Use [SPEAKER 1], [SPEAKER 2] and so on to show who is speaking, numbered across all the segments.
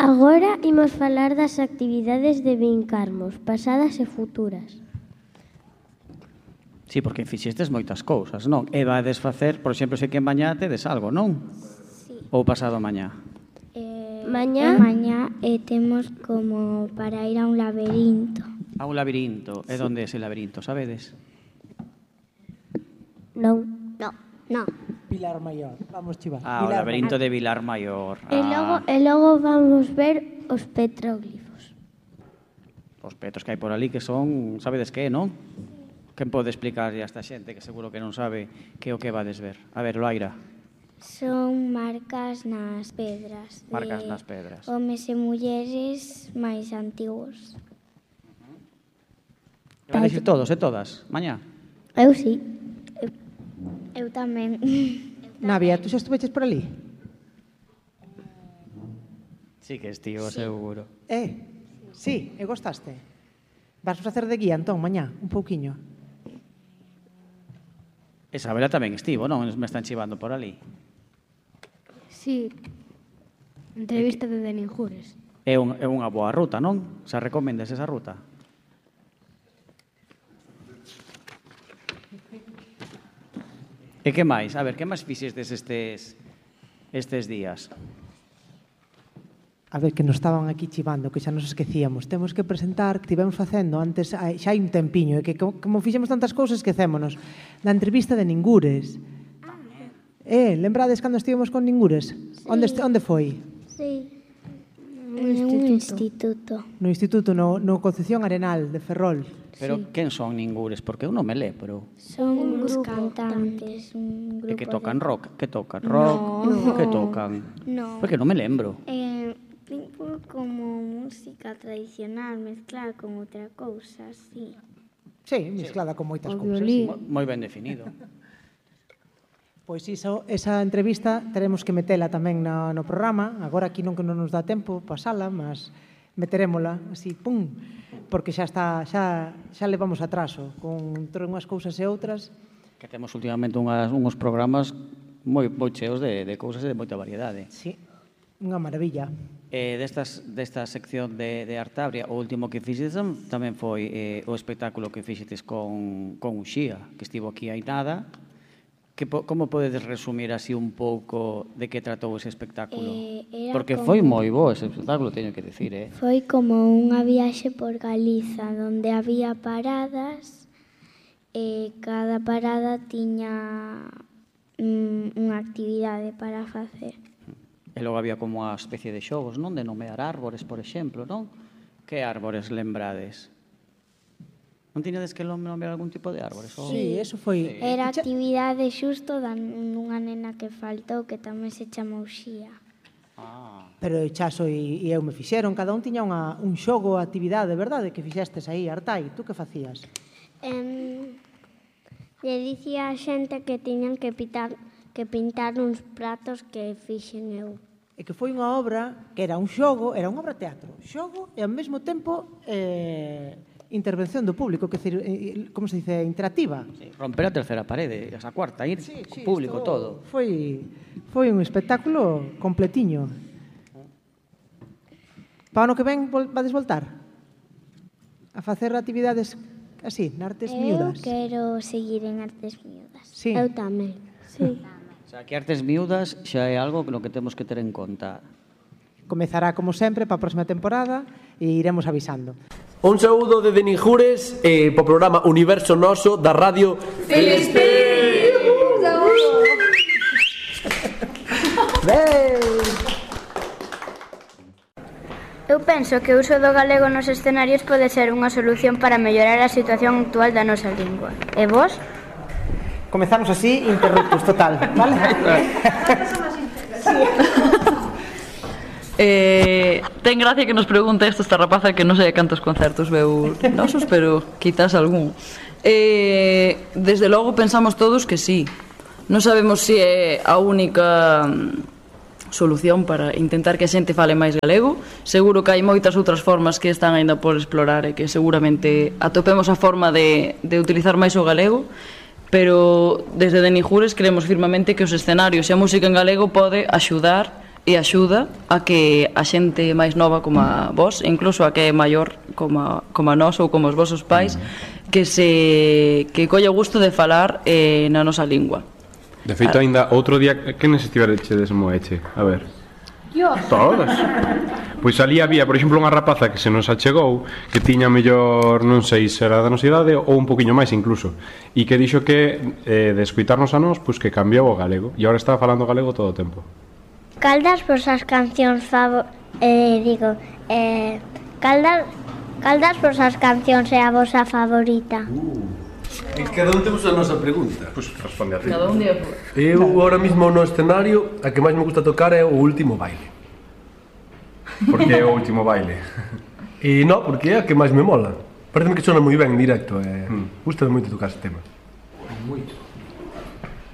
[SPEAKER 1] Agora imos falar das actividades de Vincarmos, pasadas e futuras.
[SPEAKER 2] Sí, porque fixestes moitas cousas, non? E vades facer, por exemplo, sei que mañá tedes algo, non?
[SPEAKER 1] Sí.
[SPEAKER 2] Ou pasado mañá?
[SPEAKER 1] Mañá
[SPEAKER 3] temos como para ir a un laberinto.
[SPEAKER 2] A un labirinto. E onde é ese labirinto, sabedes?
[SPEAKER 1] non.
[SPEAKER 3] No.
[SPEAKER 4] Pilar Maior, vamos chivar.
[SPEAKER 2] O labirinto de Vilar Maior.
[SPEAKER 1] E logo vamos ver os petróglifos.
[SPEAKER 2] Os petros que hai por ali que son, sabedes que é, non? Quen pode explicar a esta xente que seguro que non sabe que é o que vades ver? A ver, Loaira.
[SPEAKER 3] Son marcas nas pedras.
[SPEAKER 2] Marcas nas pedras.
[SPEAKER 3] Homes e mulleres máis antigos.
[SPEAKER 2] Van a ir todos e todas, mañá?
[SPEAKER 1] Eu sí.
[SPEAKER 3] Eu tamén.
[SPEAKER 4] Navia, tú xa estuveches por ali?
[SPEAKER 2] Sí que estivo, seguro.
[SPEAKER 4] Sí, e gostaste? Vas facer de guía, entón, mañá, un pouquiño?
[SPEAKER 2] E Sabela tamén estivo, non? Me están chivando por ali.
[SPEAKER 5] Sí, entrevista de Denis Jures.
[SPEAKER 2] É unha boa ruta, non? Xa recomendas esa ruta? E que máis? A ver, que máis fixestes estes días?
[SPEAKER 4] A ver, que nos estaban aquí chivando, que xa nos esquecíamos. Temos que presentar, que tivemos facendo antes, xa hai un tempiño, e que como fixemos tantas cousas, esquecémonos, da entrevista de Ningures. Lembrades cando estivemos con Ningures?
[SPEAKER 3] Sí.
[SPEAKER 4] Onde foi?
[SPEAKER 3] Sí. Un instituto.
[SPEAKER 4] No instituto, no Concepción Arenal de Ferrol.
[SPEAKER 2] Pero quen son Ningures? Porque eu non me lembro.
[SPEAKER 3] Son uns cantantes, un grupo
[SPEAKER 2] E que tocan
[SPEAKER 3] de...
[SPEAKER 2] rock? Que tocan rock? Que tocan?
[SPEAKER 3] No.
[SPEAKER 2] Porque non me lembro.
[SPEAKER 3] Tipo como música tradicional mezclada con outra cousa, sí.
[SPEAKER 4] Sí, mezclada con moitas
[SPEAKER 5] O
[SPEAKER 4] cousas.
[SPEAKER 5] violín.
[SPEAKER 2] Moi ben definido.
[SPEAKER 4] Pois esa entrevista teremos que metela tamén no programa. Agora aquí non que non nos dá tempo pasala, mas meterémola así, pum, porque xa levamos atraso con entre unhas cousas e outras.
[SPEAKER 2] Que temos últimamente unhos programas moi cheos de cousas e de moita variedade.
[SPEAKER 4] Sí, unha maravilla.
[SPEAKER 2] Desta sección de Artabria, o último que fixetes tamén foi o espectáculo que fixetes con Uxía, que estivo aquí hai nada. Como podedes resumir así un pouco de que tratou ese espectáculo? Porque foi moi bo ese espectáculo, teño que dicir,
[SPEAKER 3] Foi como unha viaxe por Galiza, onde había paradas e cada parada tiña unha actividade para facer.
[SPEAKER 2] E logo había como unha especie de xogos, non? De nomear árbores, por exemplo, non? Que árbores lembrades? Non tiñades que nomear algún tipo de árbores?
[SPEAKER 4] Sí, eso foi...
[SPEAKER 3] Era actividade xusto dunha nena que faltou, que tamén se chamou Xía.
[SPEAKER 4] Pero Chaso e eu me fixeron, cada un tiña un xogo, actividade, verdade, que fixestes aí, Artai, tú que facías?
[SPEAKER 1] Le dicía a xente que tiñan que pintar uns pratos que fixen eu.
[SPEAKER 4] E que foi unha obra que era un xogo, era unha obra teatro, xogo e ao mesmo tempo intervención do público, que como se dice, interactiva.
[SPEAKER 2] Sí, romper a terceira parede, a cuarta, ir público todo.
[SPEAKER 4] Foi un espectáculo completiño. Para o ano que ven vades voltar a facer actividades así, en artes miúdas.
[SPEAKER 3] Eu quero seguir en artes miúdas.
[SPEAKER 4] Sí.
[SPEAKER 1] Eu tamén. Sí.
[SPEAKER 2] O sea, que artes miúdas xa é algo no que temos que ter en conta.
[SPEAKER 4] Comezará, como sempre, para a próxima temporada e iremos avisando.
[SPEAKER 6] Un saúdo de Denis Jures po programa Universo Noso da Radio Filispín.
[SPEAKER 7] Eu penso que o uso do galego nos escenarios pode ser unha solución para mellorar a situación actual da nosa lingua. E vos?
[SPEAKER 4] Comezamos así, interruptos total, vale?
[SPEAKER 8] Ten gracia que nos pregunte esta rapaza que non sei cantos concertos veu nosos, pero quizás algún. Desde logo pensamos todos que sí. Non sabemos se é a única solución para intentar que a xente fale máis galego. Seguro que hai moitas outras formas que están aínda por explorar e que seguramente atopemos a forma de utilizar máis o galego, pero desde Denis Jures creemos firmemente que os escenarios e a música en galego pode axudar e axuda a que a xente máis nova como a vos, e incluso a que é maior como a nós ou como os vosos pais, que colle o gusto de falar na nosa lingua.
[SPEAKER 9] De feito, ainda outro día, que nos estiverechedes Moeche? A ver. Todas. Pois ali había, por exemplo, unha rapaza que se nos achegou, que tiña mellor, non sei se era da nosa idade ou un poquinho máis incluso, e que dixo que de escuitarnos a nós, pois que cambiou o galego, e agora estaba falando galego todo o tempo.
[SPEAKER 1] Cal das vosas cancións cal das vosas cancións é a vosa favorita?
[SPEAKER 6] Cada un temos a nosa pregunta.
[SPEAKER 9] Pois responde a ti.
[SPEAKER 8] Cada un día por...
[SPEAKER 6] Eu ahora mismo no escenario, a que máis me gusta tocar é o último baile.
[SPEAKER 9] Porque é o último baile.
[SPEAKER 6] E non, porque é a que máis me mola. Parece que sona moi ben en directo, gusta moito tocar ese tema. Moito.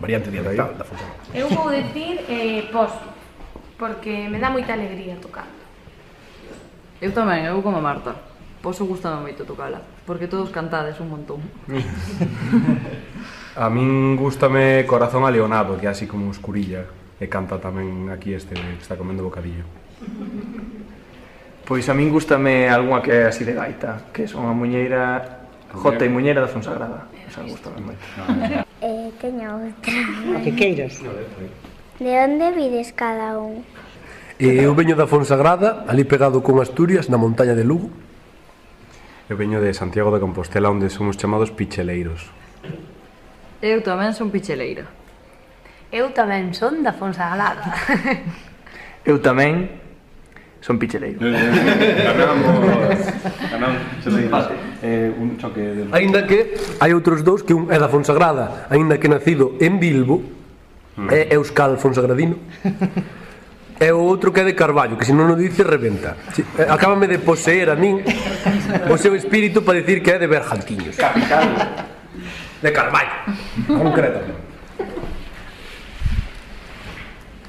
[SPEAKER 6] Variante dialectal da función.
[SPEAKER 10] Eu vou dicir pos, porque me dá moita alegría tocar.
[SPEAKER 8] Eu tamén, eu como a Marta. Poso gustame moito tocala, porque todos cantades un montón.
[SPEAKER 9] A min gústame Corazón Aleonado, que é así como escurilla, e canta tamén aquí este que está comendo bocadillo.
[SPEAKER 11] Pois a min gústame algunha que é así de gaita, que son a muñeira Jota e Muñeira da Fonsagrada. Esa gústame moito.
[SPEAKER 1] Teño outra.
[SPEAKER 4] O que queiras.
[SPEAKER 1] De onde vides cada un?
[SPEAKER 6] Eu veño da Fonsagrada, ali pegado con Asturias, na montaña de Lugo.
[SPEAKER 9] Eu veño de Santiago de Compostela, onde somos chamados picheleiros.
[SPEAKER 8] Eu tamén son picheleira.
[SPEAKER 10] Eu tamén son da Fonsagrada.
[SPEAKER 11] Eu tamén son picheleiro.
[SPEAKER 9] Ganamos picheleiros. Un choque de...
[SPEAKER 6] Aínda que hai outros dous, que un é da Fonsagrada, aínda que nacido en Bilbo, é euskal fonsagradino. E o outro que é de Carballo, que se non o dice, rebenta. Acábame de poseer a min o seu espírito para dicir que é de Bergantiños.
[SPEAKER 11] Capital.
[SPEAKER 6] De Carballo, concretamente.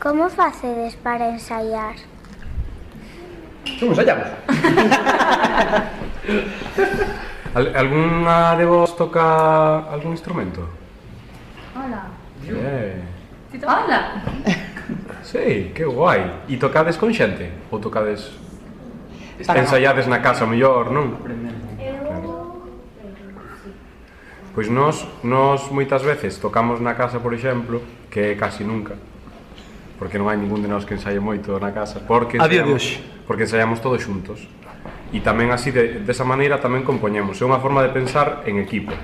[SPEAKER 1] Como facedes para ensaiar?
[SPEAKER 6] Como ensaiamos?
[SPEAKER 9] Alguna de vos toca algún instrumento?
[SPEAKER 10] Hola.
[SPEAKER 8] Hola.
[SPEAKER 9] Sí, que guai. E tocades con xente? Ou tocades... ensaiades na casa mellor, non? Pois nós moitas veces tocamos na casa, por exemplo, que é casi nunca, porque non hai ningún de nós que ensaie moito na casa, porque ensaiamos todos xuntos. E tamén así, desa maneira, tamén compoñemos. É unha forma de pensar en equipo.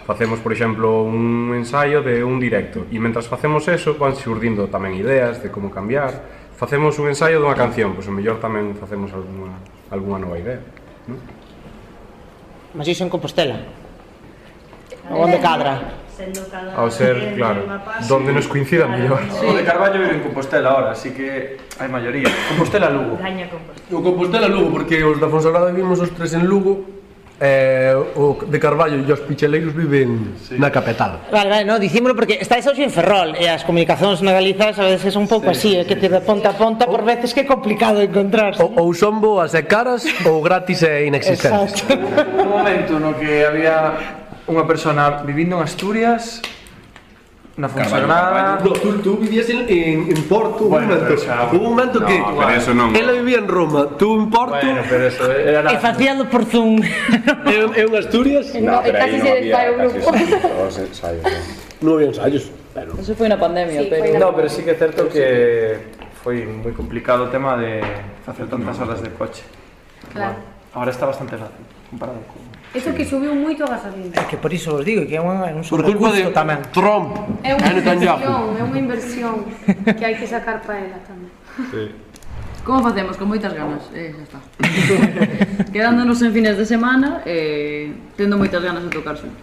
[SPEAKER 9] Facemos, por exemplo, un ensaio de un directo, e mentras facemos eso, van xurdindo tamén ideas de como cambiar. Facemos un ensaio dunha canción, pois o mellor tamén facemos algunha nova idea, non?
[SPEAKER 4] Mas iso en Compostela? Onde cadra?
[SPEAKER 9] Ao ser, claro, donde nos coincida mellor.
[SPEAKER 11] O de Carballo vive en Compostela ahora, así que hai maioría. Compostela-Lugo.
[SPEAKER 10] Gaña Compostela.
[SPEAKER 6] O Compostela-Lugo, porque os da Fonsagrada vivimos os tres en Lugo, o de Carballo e os picheleiros viven na capital.
[SPEAKER 4] Vale, no, dicímolo porque estáis hoxe en Ferrol e as comunicacións na Galiza a veces son un pouco así, que te de ponta a ponta por veces que é complicado encontrarse.
[SPEAKER 6] Ou son boas e caras ou gratis e inexistentes.
[SPEAKER 11] Un momento no que había unha persona vivindo en Asturias, na Fonsagrada...
[SPEAKER 6] Tú vivías en Porto, un momento que... Ela vivía en Roma, tú en Porto...
[SPEAKER 11] Bueno, pero eso era...
[SPEAKER 4] E facíalo por Zoom.
[SPEAKER 6] E en Asturias...
[SPEAKER 10] No, casi se desfai o grupo.
[SPEAKER 6] Non había ensaios.
[SPEAKER 8] Eso foi na pandemia, pero...
[SPEAKER 11] No, pero sí que é certo que foi moi complicado o tema de facer tantas horas de coche.
[SPEAKER 10] Claro.
[SPEAKER 11] Ahora está bastante fácil, comparado con...
[SPEAKER 10] Eso que subiu moito a gasolina.
[SPEAKER 4] É que por iso vos digo que é un
[SPEAKER 6] Por culpa de
[SPEAKER 4] tamén.
[SPEAKER 6] Trump.
[SPEAKER 10] É unha inversión que hai que sacar para ela tamén.
[SPEAKER 9] Sí.
[SPEAKER 8] Como facemos? Con moitas ganas, xa está. Quedándonos en fines de semana, tendo moitas ganas de tocar xuntos.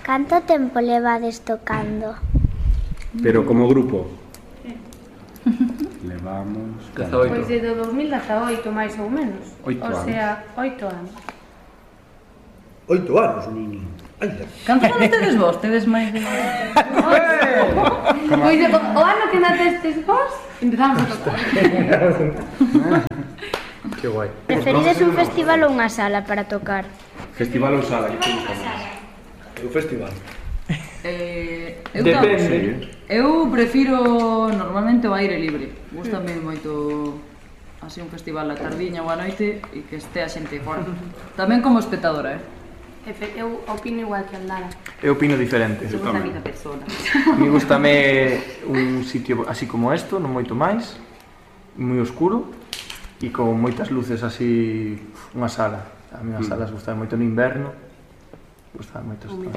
[SPEAKER 1] Canto tempo levades tocando?
[SPEAKER 9] Pero como grupo? Levamos...
[SPEAKER 11] 18.
[SPEAKER 10] Pois desde 2018, máis ou menos.
[SPEAKER 9] 8
[SPEAKER 10] O sea, 8 anos.
[SPEAKER 6] 8 anos, nini.
[SPEAKER 8] Cantan tedes vos? Tedes máis de...
[SPEAKER 10] Pois o ano que nacestes vos, empezamos a tocar.
[SPEAKER 9] Que guai.
[SPEAKER 7] Preferides un festival ou unha sala para tocar?
[SPEAKER 9] Festival ou sala? Que te gusta máis?
[SPEAKER 6] O festival.
[SPEAKER 8] Eu
[SPEAKER 11] Depende.
[SPEAKER 8] Eu prefiro normalmente o aire libre. Gústame moito así un festival a tardiña ou a noite e que este a xente fora. Tamén como espectadora,
[SPEAKER 10] Eu opino igual que Andara.
[SPEAKER 11] Eu opino diferente.
[SPEAKER 8] Somos a mica persona.
[SPEAKER 11] Me gustame un sitio así como esto, non moito máis, moi oscuro e con moitas luces así, unha sala. A mí as salas gustame moito no inverno. Gustame moito isto.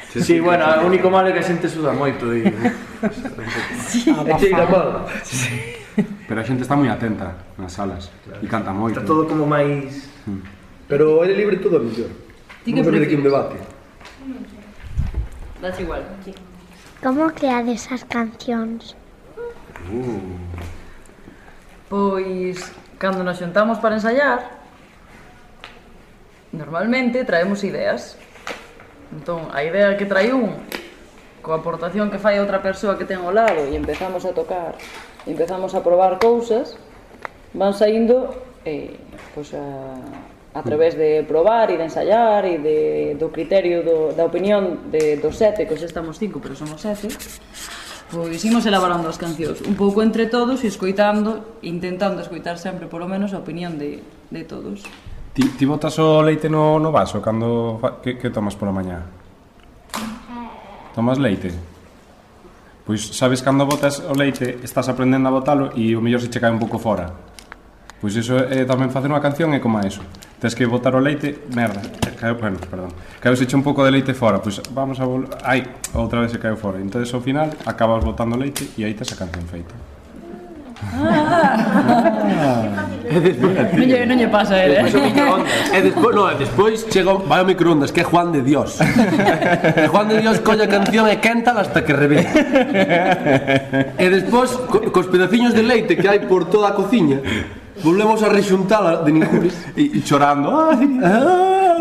[SPEAKER 11] Sí, bueno, o único malo é que a xente suda moito e cheira mal.
[SPEAKER 9] Pero a xente está moi atenta nas salas e canta moito.
[SPEAKER 11] Está todo como máis...
[SPEAKER 6] Pero o aire libre todo é mellor. Vamos a ver aquí un debate.
[SPEAKER 8] Das igual.
[SPEAKER 3] Como creades as cancións?
[SPEAKER 8] Pois, cando nos xuntamos para ensayar, normalmente traemos ideas. Entón, a idea que trae un, coa aportación que fai a outra persoa que ten ao lado, e empezamos a tocar, e empezamos a probar cousas, van saindo pois a través de probar e de ensayar e do criterio da opinión dos 7, que hoxe estamos 5, pero somos 7, pois imos elaborando as cancións un pouco entre todos e escoitando, intentando escoitar sempre polo menos a opinión de todos.
[SPEAKER 9] Ti botas o leite no vaso cando que tomas pola mañá? Tomas leite? Pois sabes cando botas o leite estás aprendendo a botalo e o mellor se che cae un pouco fora. Pois iso tamén facer unha canción é como eso. Tens que botar o leite, merda, caeu se che un pouco de leite fora, pois vamos a ai, outra vez se caeu fora. Entonces ao final acabas botando leite e aí tes a canción feita.
[SPEAKER 8] Non lle pasa a ele.
[SPEAKER 6] Despois chega, vai ao microondas, que é Juan de Dios. Juan de Dios colle a canción e quéntala hasta que revente. E despois, cos pedaciños de leite que hai por toda a cociña, volvemos a rexuntala de Ninjures
[SPEAKER 9] e chorando,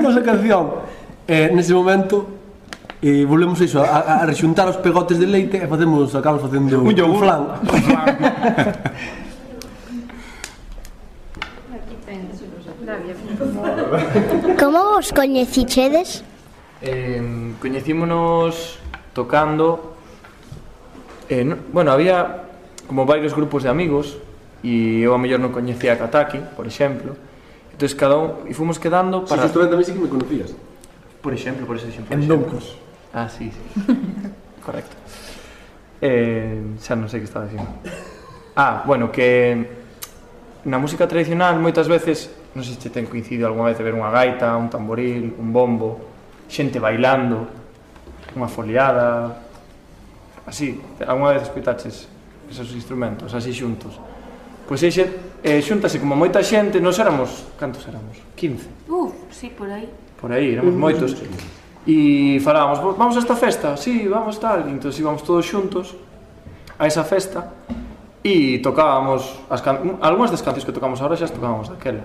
[SPEAKER 6] nosa canción. Nese momento volvemos iso a rexuntar os pegotes de leite e acabamos facendo un flan.
[SPEAKER 3] Como vos coñecichedes?
[SPEAKER 11] Coñecímonos tocando. Bueno, había como varios grupos de amigos e eu a mellor non coñecía a Kataki, por exemplo. Entón cada un e fomos quedando para...
[SPEAKER 6] Si, justamente a mí sí que me conocías.
[SPEAKER 11] Por exemplo, por ese exemplo.
[SPEAKER 6] En Doncos.
[SPEAKER 11] Ah, sí. Correcto. Xa non sei que estaba dicindo. Bueno, que na música tradicional moitas veces, non sei se ten coincidido algunha vez de ver unha gaita, un tamboril, un bombo, xente bailando, unha foliada, así, algunha vez escoitaches esos instrumentos, así xuntos. Pois xuntase como moita xente, nos éramos, cantos éramos? 15.
[SPEAKER 10] Sí, por aí.
[SPEAKER 11] Por aí, éramos moitos. E falábamos, vamos a esta festa? Sí, vamos tal. Entón íbamos todos xuntos a esa festa e tocábamos algunhas das cancións que tocamos agora xa as tocábamos daquela.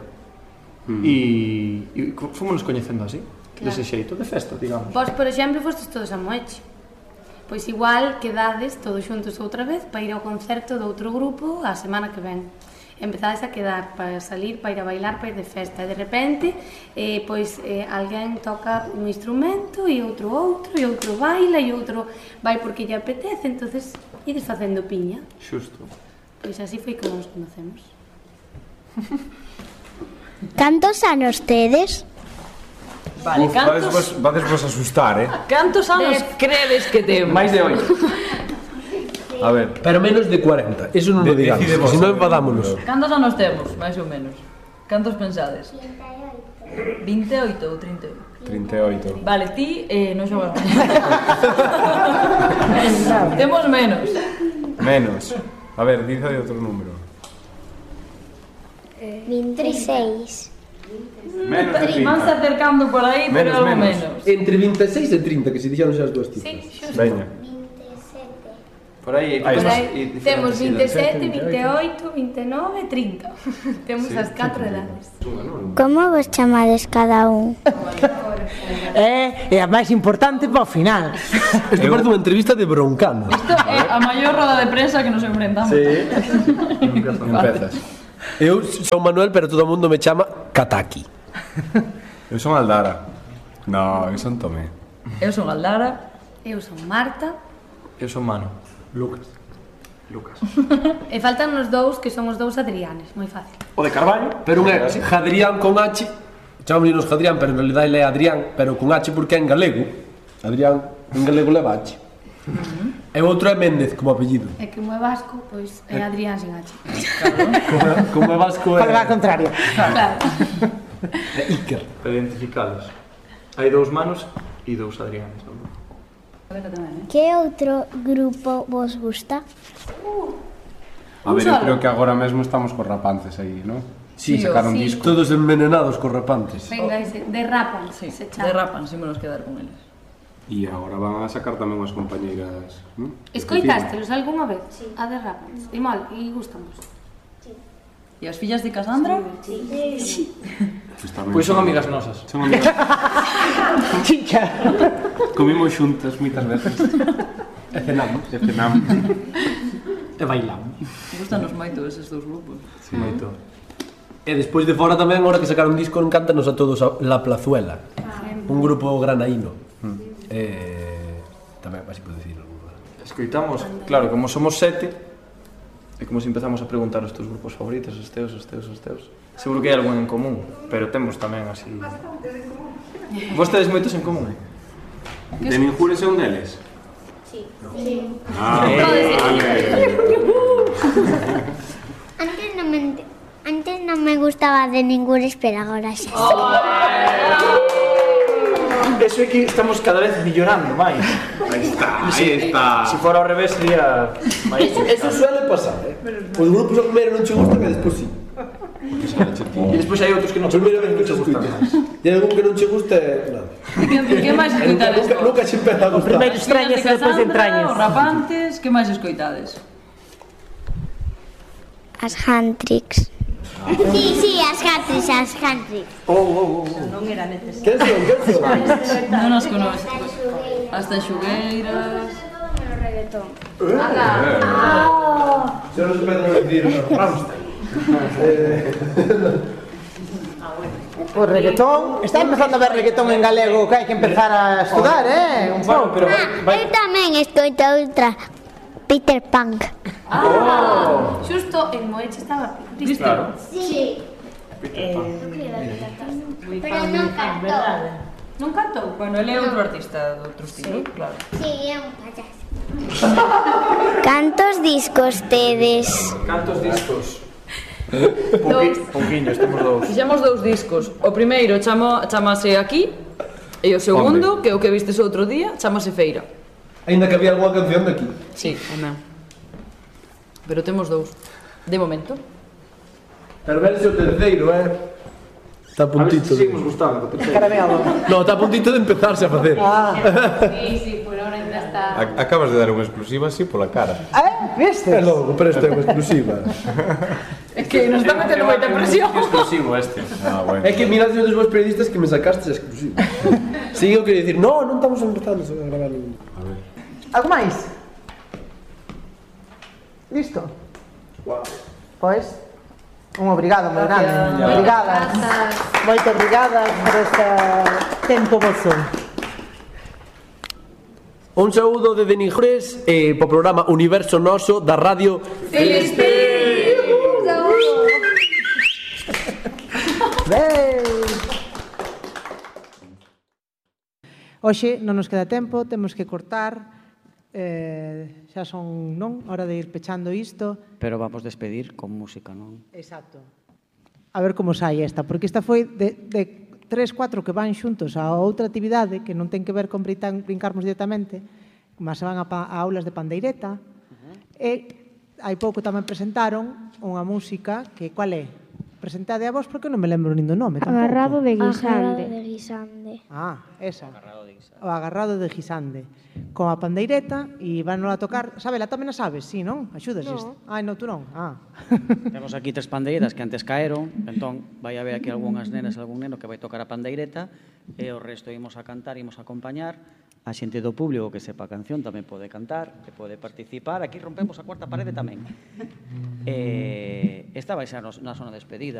[SPEAKER 11] E fomos coñecendo así, dese xeito, de festa, digamos.
[SPEAKER 10] Vos, por exemplo, fostes todos a Moeche. Pois igual quedades todos xuntos outra vez para ir ao concerto do outro grupo a semana que ven. Empezades a quedar para salir, para ir a bailar, para ir de festa. E de repente, alguén toca un instrumento e outro, e outro baila, e outro vai porque lle apetece, entonces ides facendo piña.
[SPEAKER 11] Xusto.
[SPEAKER 10] Pois así foi como nos conocemos.
[SPEAKER 3] Cantos anos tedes?
[SPEAKER 8] Vale, cantos...
[SPEAKER 9] Vades vos asustar,
[SPEAKER 8] Cantos anos credes que temos?
[SPEAKER 11] Máis de 8.
[SPEAKER 6] A ver, pero menos de 40. Eso non lo digamos, se non enfadámonos.
[SPEAKER 8] Cantos anos temos, máis ou menos? Cantos pensades? 28 ou 38?
[SPEAKER 9] 38.
[SPEAKER 8] Vale, ti non xogas. Temos menos.
[SPEAKER 9] Menos. A ver, dice de outro número.
[SPEAKER 3] 26.
[SPEAKER 9] Menos de 30.
[SPEAKER 8] Vanse acercando por aí, pero algo menos.
[SPEAKER 6] Entre 26 e 30, que se dixeron xa as dúas cifras.
[SPEAKER 10] Sí, xusto.
[SPEAKER 9] Veña.
[SPEAKER 11] Por aí
[SPEAKER 10] temos 27, 28, 29 e 30. Temos as 4 edades.
[SPEAKER 3] Como vos chamades cada un?
[SPEAKER 4] É a máis importante para o final.
[SPEAKER 6] Isto parece unha entrevista de Broncano.
[SPEAKER 8] Isto é a maior roda de prensa que nos enfrentamos.
[SPEAKER 6] Sí. Empezas. Eu son Manuel, pero todo o mundo me chama Kataki.
[SPEAKER 9] Eu son Aldara. No, eu son Tomé.
[SPEAKER 8] Eu son Aldara.
[SPEAKER 10] Eu son Marta.
[SPEAKER 11] Eu son Mano.
[SPEAKER 6] Lucas.
[SPEAKER 10] E faltan os dous, que son os dous Adrianes, moi fácil.
[SPEAKER 11] O de Carballo.
[SPEAKER 6] Pero un é Jadrián con H, chamámonos Jadrián, pero en realidad ele é Adrián, pero con H porque é en galego. Adrián, en galego leva H. E o outro é Méndez, como apellido.
[SPEAKER 10] E que como é vasco, pois é Adrián sin H.
[SPEAKER 6] Como é vasco é...
[SPEAKER 4] Para a contraria.
[SPEAKER 10] Claro.
[SPEAKER 6] É Iker.
[SPEAKER 11] Para identificalos. Hai dous Manos e dous Adrianes.
[SPEAKER 3] Que outro grupo vos gusta?
[SPEAKER 9] A ver, eu creo que agora mesmo estamos cos Rapances aí, non?
[SPEAKER 6] Sí,
[SPEAKER 9] sacaron
[SPEAKER 10] sí.
[SPEAKER 9] disco.
[SPEAKER 6] Todos envenenados cos Rapantes.
[SPEAKER 10] Venga, ese, derrapan,
[SPEAKER 8] Sí,
[SPEAKER 10] se chama.
[SPEAKER 8] derrapan, si menos quedar con eles.
[SPEAKER 9] E agora van a sacar tamén unhas compañeiras, non?
[SPEAKER 10] Escoitástelos algunha vez? Sí. A derrapan. E mal, e gustamos.
[SPEAKER 8] E as fillas de Casandra?
[SPEAKER 10] Sí.
[SPEAKER 11] Pois son amigas nosas.
[SPEAKER 9] Son amigas.
[SPEAKER 4] Chicha.
[SPEAKER 9] Comimos xuntas moitas veces.
[SPEAKER 6] E cenamos. E bailamos.
[SPEAKER 8] Gustanos moito eses dous grupos.
[SPEAKER 11] Sí, moito.
[SPEAKER 6] E despois de fora tamén, agora que sacaron disco, encántanos a todos a La Plazuela. Un grupo granaíno. Tamén, así pode dicir alguna.
[SPEAKER 11] Escoitamos, claro, como somos 7, é como se empezamos a preguntar os teus grupos favoritos, os teus. Seguro que hai algún en común, pero temos tamén así... Vos tedes moitos en común?
[SPEAKER 9] De Ninjures é un deles?
[SPEAKER 3] Sí.
[SPEAKER 9] Ah, vale.
[SPEAKER 3] Antes non me gustaba de Ningures, pero agora xa.
[SPEAKER 11] Eso é que estamos cada vez millorando máis.
[SPEAKER 9] Aí está.
[SPEAKER 11] Se fora ao revés sería...
[SPEAKER 6] Eso suele pasar, Os grupos ao primeiro non che gustan e despois sí.
[SPEAKER 11] E despois hai outros que non che
[SPEAKER 6] Primeira vez que che gustan. E algún que non che gusta é... nada.
[SPEAKER 8] Que máis escoitades?
[SPEAKER 6] Nunca se empeza a gustar.
[SPEAKER 4] Primeiro extrañas e despois entrañas.
[SPEAKER 8] Os Rapantes, que máis escoitades?
[SPEAKER 3] As Hantrix. Sí, as Hantrix.
[SPEAKER 4] Non era necesario.
[SPEAKER 6] Quen son?
[SPEAKER 8] Non nos conoces. As Tanxugueiras...
[SPEAKER 6] Xa non se pode dicir Rammstein.
[SPEAKER 4] O reggaetón, está empezando a ver reggaetón en galego, que hai que empezar a estudar, un pouco.
[SPEAKER 11] Pero
[SPEAKER 3] Eu tamén escoito outra, Peter Punk.
[SPEAKER 10] Xusto en Moeche estaba Cristo.
[SPEAKER 11] claro.
[SPEAKER 3] Sí. Pero non cantou.
[SPEAKER 10] Non cantou?
[SPEAKER 8] Bueno, ele é outro artista de outro estilo, claro.
[SPEAKER 3] Sí, é un payaso. Cantos discos tedes?
[SPEAKER 11] Cantos discos? Pouquiños, temos dous.
[SPEAKER 8] Fixemos 2 discos. O primeiro chamase Aquí e o segundo, que é o que vistes outro día, chamase Feira.
[SPEAKER 6] Ainda que había algunha canción de aquí.
[SPEAKER 8] Sí, amén. Pero temos 2, de momento.
[SPEAKER 6] Pero verse o terceiro, Está a
[SPEAKER 11] A ver se
[SPEAKER 6] puntito.
[SPEAKER 11] seguimos gustando.
[SPEAKER 4] Caramelo.
[SPEAKER 6] No, está a puntito de empezarse a facer.
[SPEAKER 10] Sí, por ahora ainda está.
[SPEAKER 9] Acabas de dar unha exclusiva así pola cara.
[SPEAKER 4] Viste?
[SPEAKER 6] É logo, pero esta é unha exclusiva.
[SPEAKER 8] É que nos está metendo moita presión.
[SPEAKER 11] Exclusivo este.
[SPEAKER 9] Ah, bueno.
[SPEAKER 6] É que mirad os vos periodistas que me sacastes a exclusiva. Si eu quería dicir, non estamos empezando a gravar ningún.
[SPEAKER 9] A ver.
[SPEAKER 4] Algo máis? Listo? Pois, un obrigado moi grande. Obrigadas. Moito obrigadas por este tempo vosso.
[SPEAKER 6] Un saúdo de Ninjures pro programa Universo Noso da Radio
[SPEAKER 8] Filispín!
[SPEAKER 4] Hoxe non nos queda tempo, temos que cortar. Xa son, non? Hora de ir pechando isto.
[SPEAKER 2] Pero vamos despedir con música, non?
[SPEAKER 4] Exacto. A ver como sai esta, porque esta foi de 3, 4 que van xuntos a outra actividade que non ten que ver con brincarmos directamente, mas se van a aulas de pandeireta, e hai pouco tamén presentaron unha música que, cual é? Presentade a vos porque non me lembro nin do nome tampouco.
[SPEAKER 1] Agarrado de
[SPEAKER 3] Agarrado
[SPEAKER 1] guisante.
[SPEAKER 3] de guisande.
[SPEAKER 4] Ah, esa. O agarrado de guisande. Con a pandeireta e van a tocar. Sabela, tamén a sabes, sí, non? Axudas isto. Ai, non, tú non.
[SPEAKER 2] Temos aquí 3 pandeiras que antes caeron, entón vai haber aquí algunhas nenas, algún neno que vai tocar a pandeireta e o resto imos a cantar, imos a acompañar. A xente do público que sepa a canción tamén pode cantar, que pode participar. Aquí rompemos a cuarta parede tamén. Esta vai ser na zona despedida.